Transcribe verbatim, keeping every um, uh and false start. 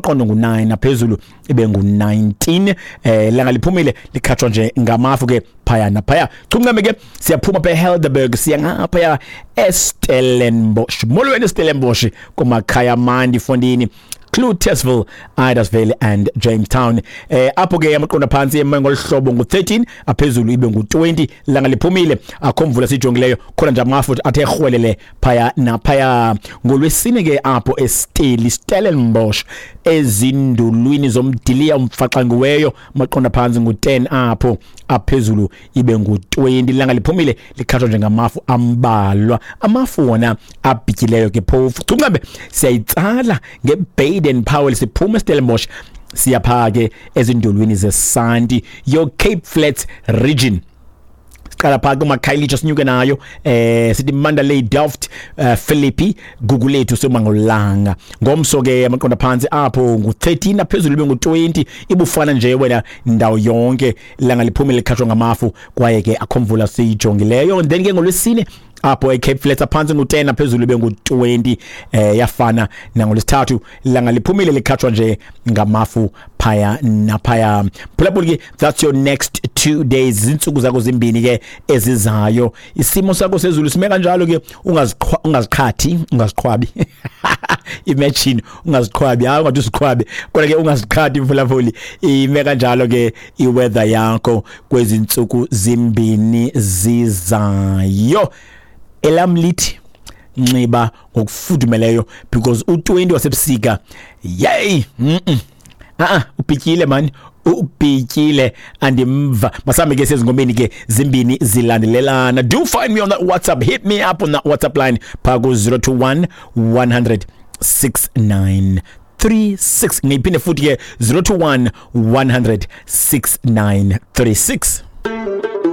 Amaqondo ngu-nine, naphezulu ibe ngu-nineteen. eh langa liphumile, likhatshwa nje ngamafu ke phaya naphaya. Chuncame ke, siyaphuma pha eHelderberg, siya ngaphaya eStellenbosch. Molweni Stellenbosch, kumakhaya mandi fondini. Cloetesville, Idasville and Jamestown. Eh apho ke amaqondo phantsi eme ngolhlobo ngu-thirteen, aphezulu ibe ngu-twenty. Langa liphumile, akho mvula sijongileyo, khona nje amafu athe rhwelele phaya naphaya. Ngolwesine ke apho eSteli, Stellenbosch, ezindulwini zomdiliya umfaxangiweyo, amaqondo phantsi ngu-ten apho, aphezulu ibe ngu-twenty. Langa liphumile, likhatshwa njengamafu ambalwa, amafu wona abhityileyo ke phofu. Chuncabe siyayitsala ngeBaden Powell, siphuma eStellenbosch, siyapha ke ezindulwini zesanti, your Cape Flats region. Siqala phaa kumakhayelitsha, sinyuke nayo, eh sithi Mandalay, Delft, uh, Philippi, Gugulethu, Somangolanga. Ngomso ke amaqonda phantsi apho ngu-thirteen, aphezulu ibe ngu-twenty. Ibufana nje wena ndawo yonke, langa liphumile, likhatshwa ngamafu, kwaye ke akho mvula siyijongileyo. And then ke ngolwesine apho eCape Flats, aphantsi ngu-ten, aphezulu ibe ngu-twenty. eh yafana nangolwesithathu, langa liphumile, likhatshwa nje ngamafu phaya naphaya. Phulaphula ke, that's your next two days, zintsuku zakho zimbini ke ezizayo. Isimo sakho sezulu sime kanjalo ke. Ungaziqhathi, ungaziqhwabi. Imagine, ungaziqhwabi, hayi, ungathi usiqhwabe, kodwa ke ungaziqhathi mphulaphuli. Ime kanjalo ke iweather yakho kwezi ntsuku zimbini zizayo. Elam lithi nxiba ngokufudumeleyo, because u-twenty wasebusika, yey, mm -mm. Ah, ubhityile man, ubhityile, andimva. Masambe ke sezingomeni ke zimbini zilandelelana. Do find me on that WhatsApp, hit me up on that WhatsApp line phaa ku zero two one one hundred six nine three six. Ngiyiphinde futhi ke, zero two one one hundred six nine three six.